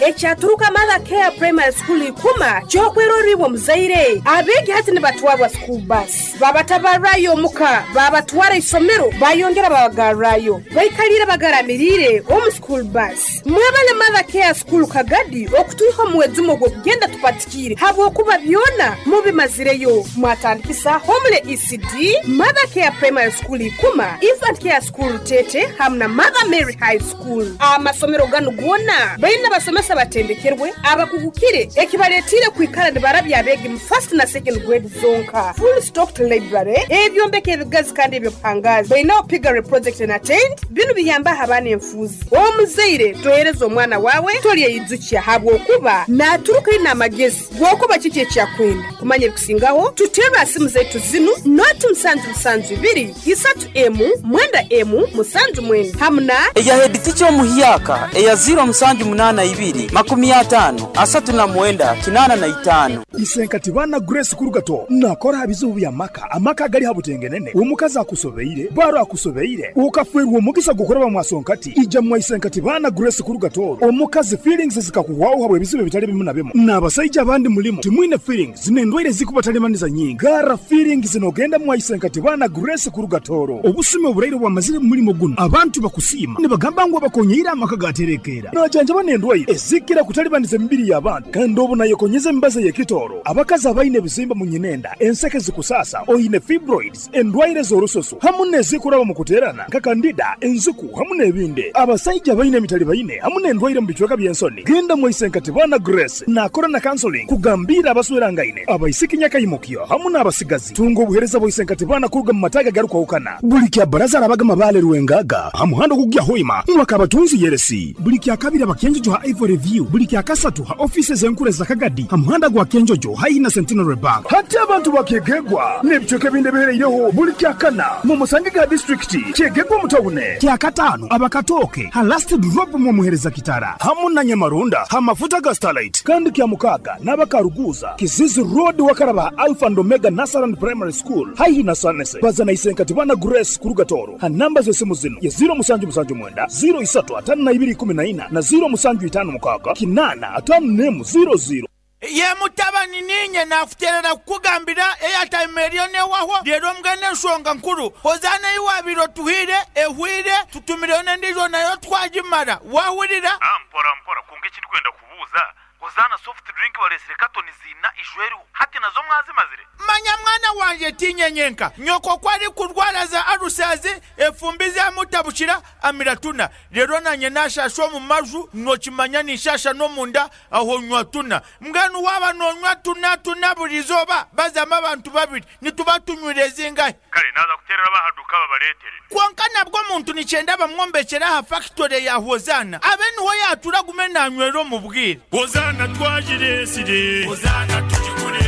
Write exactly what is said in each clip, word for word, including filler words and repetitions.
Ekyaturuka Mother Care Primary School ikuma kyokweroribwa muzaire abeegi hati nibatwarwa school bus babatabarayo omuka babatwara isomero bayongera babagarrayo baikalire bagaramirire omu school bus. Mwebale Mother Care School Kagadi okutuiha omuwezumo gw'okugenda tupatikire habwokuba byona mubimazireyo. Mwatandikisa Homele E C D, Mother Care Primary School ikuma, Infant Care School Tete hamwe na Mother Mary High School. Amasomero ganu gona baina basomesa batendekerwe abakugukire ekibaletire kwikara nibarabya abegi mu first na second grade zonka. Full stocked library ebyombeko ebigazi kandi ebyobuhangazi baina piggery project and attend binu biyamba abaana enfuzi. Omuzaire tohereza omwana wawe tolyeyizukia habwokuba naturuka ina amagezi gwokuba kiki ekyakwenda kumanya ebikusingaho. Tutera simu zaitu zinu noti musanju musanju ibiri isatu emu mwenda emu musanju mwenda hamuna eya head teacher omuhyaka eya zero musanju munana ibiri makumi atano asatu na mwenda kinana na itano. Isenkati bana Grace Kurugato nakora habizubu bya maka amaka gali habutengenene omukazi akusobeire baro akusobeire ukafwerwa omugisa gukora bamwasonkati ija mwa Isenkati bana Grace Kurugato omukazi feelings zikakuwaho habwe bizibu bitali bimu na bimu n'abasajja abandi mulimo timwine feelings nendwaire zikubatalemaniza nyingi gara feelings zinogenda mwa Isenkati bana Grace Kurugatoro obusime oburaire bwamazire mulimo guno abantu bakusima nibagamba ngo bakonyeira amaka gaterekera najanja banendwaire ezikira kutalibaniza emibiri y'abantu kandi obu nayekonyeza embaza y'ekitoro abakazi abaine ebizimba mu nyinenda enseke zikusasa oyine fibroids endwaire z'orusoso hamu n'ezikuraba mu kuterana nka kandida enzuku hamu n'ebindi abasajja abaine emitali baine hamu n'endwaire mu bicweka by'ensoni. Genda mu Isenkati bana Grace nakora na counseling kugambira abaswerangaine abaisiki nyakayimukyo hamu n'abasigazi tunga obuhereza bwa Isenkati bana kuruga mu mataga garukwahukana buli kya baraza arabaga mabale rwengaga hamuhando kugya hoima mwakabatunzi yeresi buli kya kabiri abakenjojo ha Ivory View buli kya kasatu ha offices enkure za Kagadi hamuhanda gwa Kenjojo haihi na Centenary Bank hati abantu bakegegwa n'ebicweka ebindi bihereireho buli kya kana mu Musangiga district kyegegwa mutawune kya katano abakatoke ha last drop mu muhereza kitara hamu na Nyamarunda ha mafuta ga Starlight kandi kya mukaga n'abakaruguza Kizizi Road wakaraba Alpha and Omega Nasaran Primary School haihi na Sanese bazana Isenkati bana Grace Kurugatoro ha namba z'esimu zino ya zero musanju musanju mwenda zero isatu atano na ibiri kumi na ina na zero musanju itano mukaga kinana atano nemu zero zero. Ye mutabani ninye nakuterera kukugambira airtime eriyo newaho rero mbwene enshonga nkuru hozana iwabiro tuhire ehwire tutumireyo n'endijo nayo twagimara wahurira. Ah, mpora mpora kunga ekindi kwenda kubuuza hozana soft drink baresire katoni zina ijweriho hati nazo mwazimazire. Manya mwana wanje tinyenyenka nyoko kwari kurwara za arusazi efumbi zamutabukira amiratuna rero nanye nashasha omu maju nokimanya nishasha n'omunda aho nywa tuna mbwenu waba nonywa tuna tuna buri izooba bazama abantu babiri nituba tunywire zingahe. Kare naza kuterera bahaduka babaretere konka nabwo omuntu nikyenda bamwombekera aha factory ya Hozana abe niho yatura gume nanywera omu bwire. Hozana twagiresire Hozana tugikure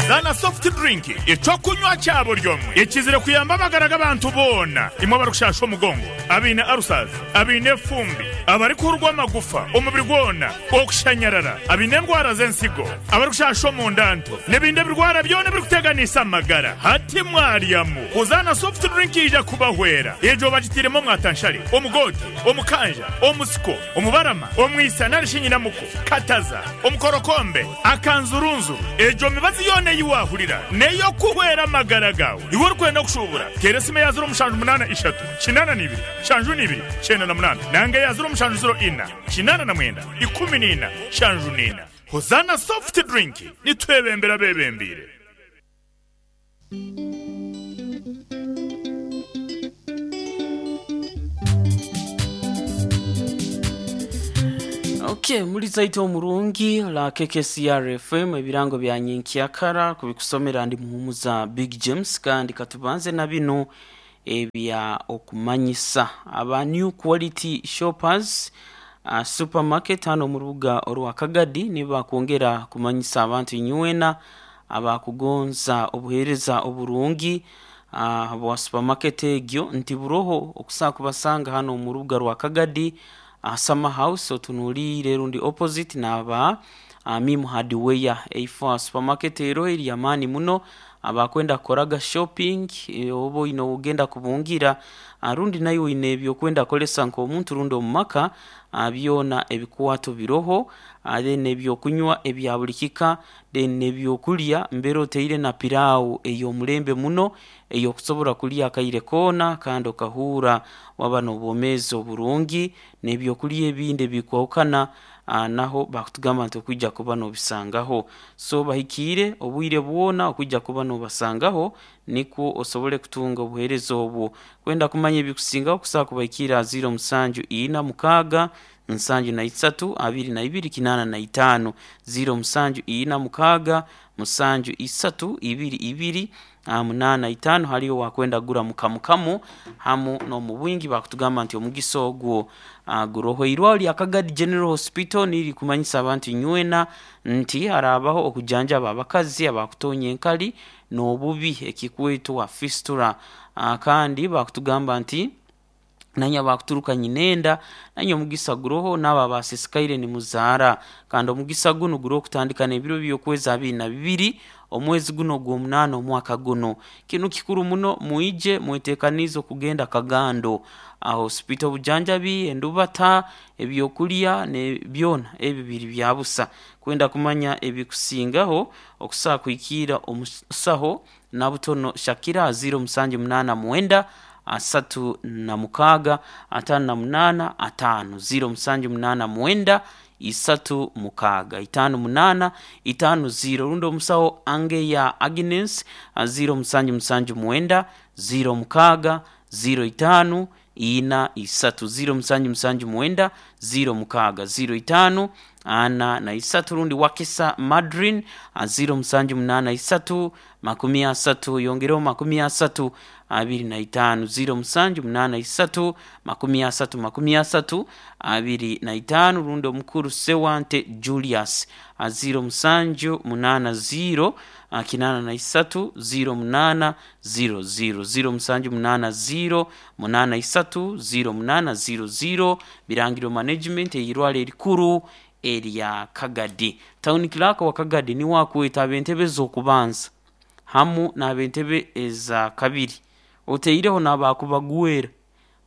Zana soft drink ecokunywa cyabo ryomwe ekizire kuyamba amagara g'abantu bona imwe barukushasha omugongo abine arusazi abine fumbi abari kurwa amagufa omubiri gwona okushanyarara abine endwara z'ensigo abarikushasha omundanto n'ebindi ebirwara byona birikuteganisa amagara hati mwaryamu. Hozana soft drink ija kubahwera ejo bagitiremo mwatanshari omugoti omukanja omusiko omubarama omwisa narishinyinamuko kataza omukorokombe akanzurunzuru ejo mibazi yona yiwahurira neyo kuhwera amagara gawe iwe urikwenda kushubura teresime ya zero mushanju munana ishatu kinana nibiri shanju nibiri cyenda na munana nange ya zero mushanju zero ina kinana na mwenda ikumi nina shanju nina. Hozana soft drink nitwebembera bebembire. Okay, muri zaito omurungi la K K C R F M ebirango bya nyenkyakara kubikusomera ndi muhumuza Big James kandi katubanze na bino ebya okumanyisa aba New Quality Shoppers uh, supermarket hano mu rubuga orwa Kagadi niba kwongera kumanyisa abantu inywena abakugonza obuhereza oburungi uh, bwa supermarket egyo nti buroho okusa kubasanga hano mu rubuga rwa Kagadi uh, Summer House otunuli rero ndi opposite naba uh, Mimu Hardware eifa supermarket ero eri yamani muno Abakwenda kukoraga shopping, eh, oba oine ogenda kubungira, ah, rundi nayo oine ebyokwenda kukolesa nk'omuntu rundi omu maka, ah, byona ebikwato biroho, ah, then ebyokunywa ebya buli kika, then n'ebyokulya mbere oteire na pilau ey'omulembe muno ey'okusobora kulya akaire koona kandi okahuura waba n'obwomeezi oburungi, n'ebyokulya ebindi ebikwahukana, ah, naho bakutugamba nti okwija kuba nobisangaho. So bahikiire obwire bwona okwija kuba nobasangaho nikwo osobole kutunga obuheereza obwo. Kwenda kumanya ebikusingaho kusobola kubahikiira ziro musanju ina mukaaga nsanju na isatu abiri na ibiri kinaana na itaano, ziro musanju ina mukaaga musanju isatu ibiri ibiri ah, munaana itaano. Haliyo wakwenda kugura mukamukamu hamu n'omu bwingi, bakutugamba nti omugisa ogwo ah, guroho. Irwaro lya Kagadi General Hospital niri kumanyisa abantu nywena nti harabaho okujanjaba abakazi abakutonya enkali n'obubi ekikwetwa fistula, ah, kandi bakutugamba nti nanye abakuturuka nyinenda nanye omugisa guroho, n'abo abasisikaire nimuzaara. Kandi omugisa guno guroho okutandika n'ebiro by'okwezi abiri na bibiri omwezi guno ogw'omunaana omwaka guno. Kinu kikuru muno, mwije mwetekanize okugenda Kagando aho hospital, obujanjabi, endubata, ebyokulya ne byona ebi biri bya busa. Kwenda kumanya ebikusingaho okusobola kuhikiira omusaho Nabutono Shakira ziro musanju munaana mwenda asatu na mukaaga ataano na munaana ataano, ziro musanju munaana mwenda isatu mukaaga itaano munaana itaano ziro. Rundi omusaho Angeya Agnes ziro musanju musanju mwenda ziro mukaaga ziro itaano ina isatu, ziro musanju musanju mwenda ziro mukaaga ziro itaano ana na isatu. Rundi Wakisa Madrin ziro musanju munaana isatu makumi asatu yongereho makumi asatu abiri na itaano, ziro musanju munaana isatu makumi asatu makumi asatu abiri na itaano. Rundi omukuru Sewante Julius ziro musanju munaana ziro kinaana na isatu ziro munaana ziro ziro, ziro musanju munaana ziro munaana isatu ziro munaana ziro ziro. Birangiro Management eirwaro erikuru erya Kagadi. Town Clerk wa Kagadi niwe akweta ab'entebe ez'okubanza hamu n'ab'entebe eza kabiri, oteireho n'abakubagwera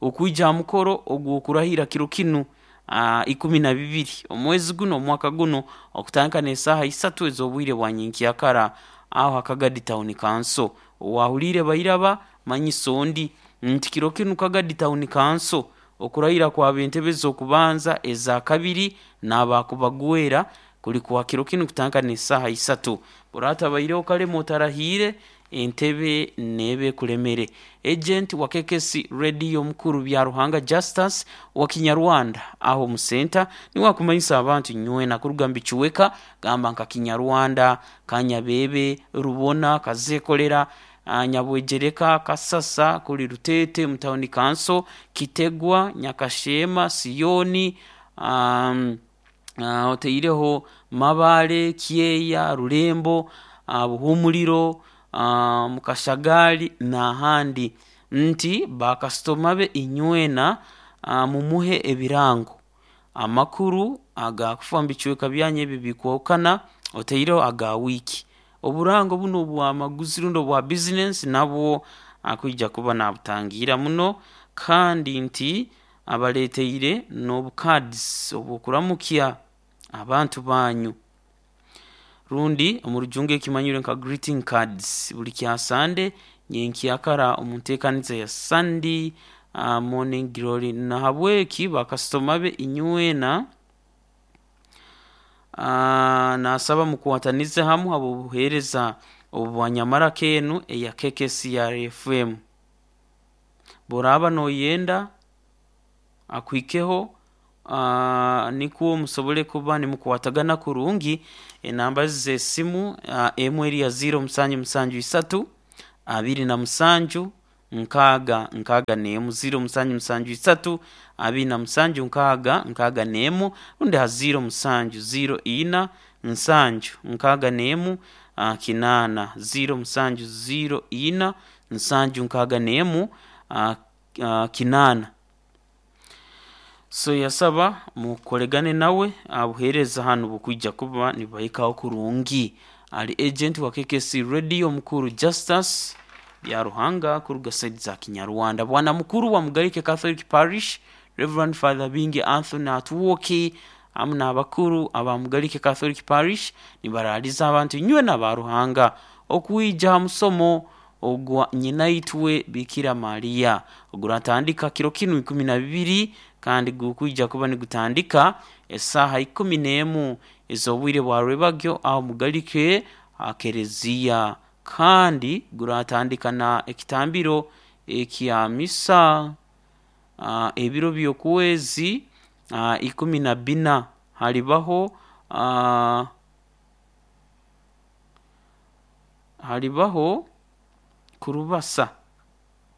okwija aha mukoro ogw'okurahira kiro kinu ah, ikumi na bibiri omwezi guno omwaka guno okutandika n'esaaha isatu ez'obwire bwa nyenkyakara aho ha Kagadi Town Council. Owahuliire bairaba manyisa ondi nti kiro kinu Kagadi Town Council okurahira kw'ab'entebe ez'okubanza eza kabiri n'abakubagwera kuli kwa kiro kinu kutandika n'esaaha isatu. Buratabaireho kalema otarahiire entebe neebe ekulemere. Agent wa K K C Radio mukuru bya Ruhanga Justus wa Kinyarwanda aho mu center niwe akumanyisa abantu nywena kuruga mbicuweka gamba nka Kinyarwanda, Kanyabebe, Rubona, Kazekolera, ah, Nyabwejereka, Kasasa, kuli Rutete mu town council, Kitegwa, Nyakashema, Siyoni, um, uh, oteireho Mabale, Kyeya, Rulembo, uh, Buhumuliro, uh, Mukashagali n'ahandi nti bakasitoma be inywena, uh, mumuhe ebirango amakuru agakufa mu bicweka byanyu ebi bikwahukana, oteireho aga wiiki. Oburango buno obwamaguzi rundi obwa bizinesi nabwo akwija kuba nabutangira muno, kandi nti abaleteire n'obukaadisi obw'okuramukya abantu banyu rundi omu rujungu ekimanyirwe nka greeting cards buli kya Sande nyenkyakara omu nteekaniza ya Sunday uh, morning glory. Nahabweki bakasitoma be inywena, uh, nasaba mukwatanize hamu habw'obuheereza obubwanyamaraka enu eya K K C R F M. Boraba noyenda akuhikeho, uh, nikwo musobole kuba nimukwatagana kurungi. Enamba z'esimu uh, emu eri ya ziro musanju musanju isatu abiri na musanju nkaaga nkaaga n'emu, ziro musanju musanju isatu abiri na musanju nkaaga nkaaga n'emu, rundi ha ziro musanju ziro ina nsanju nkaaga n'emu, uh, kinaana, ziro musanju ziro ina nsanju nkaaga n'emu, uh, uh, kinaana. So yasaba mukolegane nawe abuheereza hanu bukwija kuba nibahikaho kurungi. Ali agent wa K K C Radio, mukuru Justus Byaruhanga kuruga side za Kinyarwanda. Bwana mukuru wa Mugarike Catholic Parish, Reverend Father Bingi Anthony Atuwoki, amu n'abakuru aba Mugarike Catholic Parish nibaraliza abantu inywe n'abaruhanga okwija ha musomo ogwa nyinaitwe Bikira Mariya oguratandika kiro kinu ikumi na bibiri, kandi gukwija kuba nigutandika esaaha ikumi n'emu ez'obwire bwa rwebagyo aho Mugarike akereziya, kandi guratandika na ekitambiro ekya misa. uh, ebiro by'okwezi uh, ikumi na bina halibaho uh, halibaho kurubasa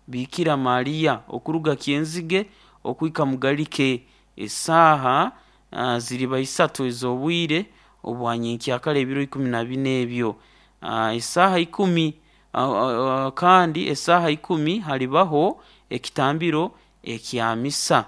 Bikira Mariya okuruga Kyenzige okwika Mugalike esaaha uh, ziriba isatu ez'obwire obwanyenkyakara ebiro ikumi na bina ebyo uh, esaaha ikumi uh, uh, kandi esaaha ikumi halibaho ekitambiro ekya misa,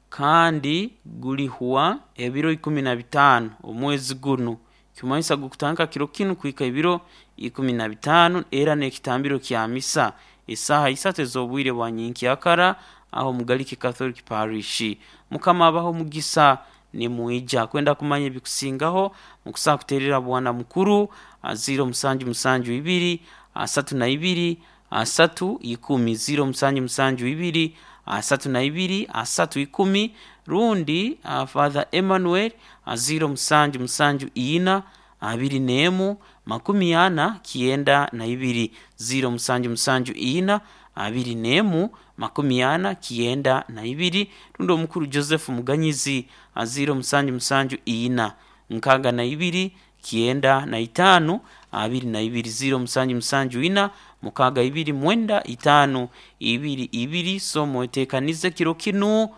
kandi gulihwa ebiro ikumi na bitaano omwezi gunu. Kimanyisa gukutandika kiro kinu kuhika ebiro ikumi na bitaano, era n'ekitambiro kya misa esaaha isatu ez'obwire bwa nyenkyakara aho Mugalike Catholic Parish. Mukama abaho mugisa nimwija kwenda kumanya ebikusingaho mukusaa kuterera bwana mukuru ziro musanju musanju ibiri asatu na ibiri asatu ikumi, ziro musanju musanju ibiri asatu na ibiri asatu ikumi, rundi uh, Father Emmanuel ziro musanju musanju ina abiri n'emu makumi ana kienda na ibiri, ziro musanju musanju ina abiri n'emu makumi ana kienda na ibiri, rundi omukuru Joseph Muganyizi ziro musanju musanju ina nkaaga na ibiri kienda na itaano abiri na ibiri, ziro musanju musanju ina mukaaga ibiri mwenda itaano ibiri ibiri. So mwetekanize kiro kinu, uh,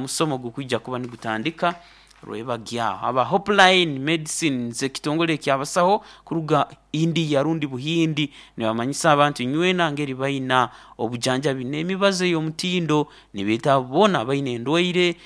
musomo gukwija kuba nigutandika rwebagyaho. Aba Hopeline Medicines, ekitongole ekyabasaho kuruga India rundi Buhindi, nibamanyisa abantu nywena ngeri baina obujanjabi n'emibazo ey'omutindo. Nibeeta boona baina endwaire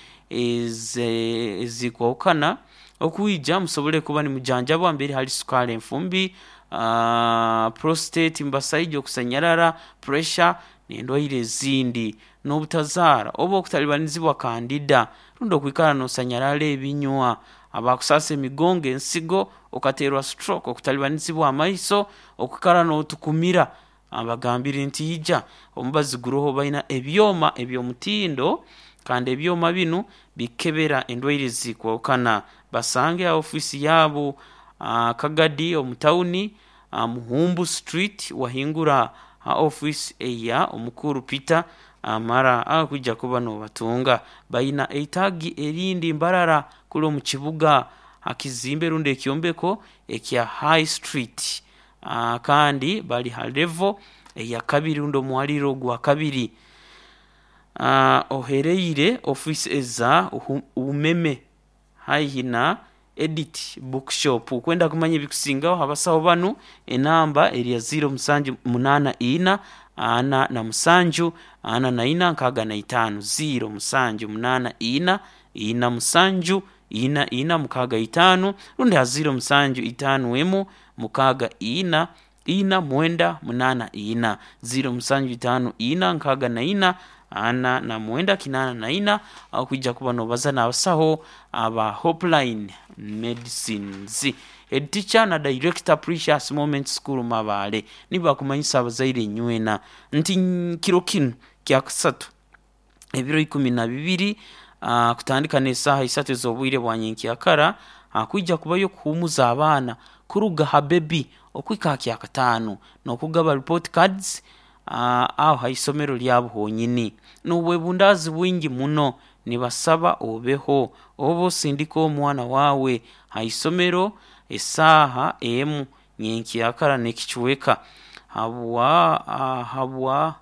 ezikwahukana okwija musobole kuba nimujanjabwa mbere hali sukari, enfumbi, uh, prostate, mbasaija, okusanyarara, pressure n'endwaire ezindi, n'obutazaara oba okutalibanizibwa candida, rundi okwikara nosanyarara ebinywa, abakusasa emigongo, ensigo, okaterwa stroke, okutalibanizibwa amaiso, okwikara n'otukumira. Abagambire nti ija omubazi guroho, baina ebyoma eby'omutindo, kandi ebyoma binu bikebera endwaire zikwahukana. Basange ha ofiisi yaabo uh, Kagadi omu tawuni, uh, Muhumbu Street, wahingura ha ofiisi eya omukuru Peter Amara akwija kuba nobatunga. Baina eitagi erindi Mbarara kuli omu kibuga hakizimbe rundi ekyombeko ekya High Street, uh, kandi bali ha level eya kabiri rundi omwaliro gwa kabiri, uh, ohereire ofiisi eza umeme haihi na Edit Bookshop. Kwenda kumanya ebikusingaho abasaho banu, enamba eri ya ziro musanju munana ina ana na musanju ana na ina nkaaga na itaano, ziro musanju munana ina ina musanju ina ina mukaaga itaano, rundi ha ziro musanju itaano emu mukaaga ina ina mwenda munana ina, ziro musanju itaano ina nkaaga na ina ana na mwenda kinana na ina, aho kwija kuba nobaza n'abasaho aba Hopeline Medicines. Head teacher na director, Precious Moment School Mabale, nibakumanyisa abazaire nywena nti kiro kinu kyakusatu ebiro ikumi na bibiri uh, kutandika n'esaaha isatu ez'obwire bwa nyenkyakara uh, kwija kubayo kuhumuza abaana kuruga ha baby okwika ha kyakataano n'okugaba report cards uh, aho ha isomero lyabo honyini n'obwebundaazi bwingi muno. Nibasaba obeho oba osindika omwana wawe ha isomero esaaha emu nyenkyakara n'ekicweka habwa uh, habwa.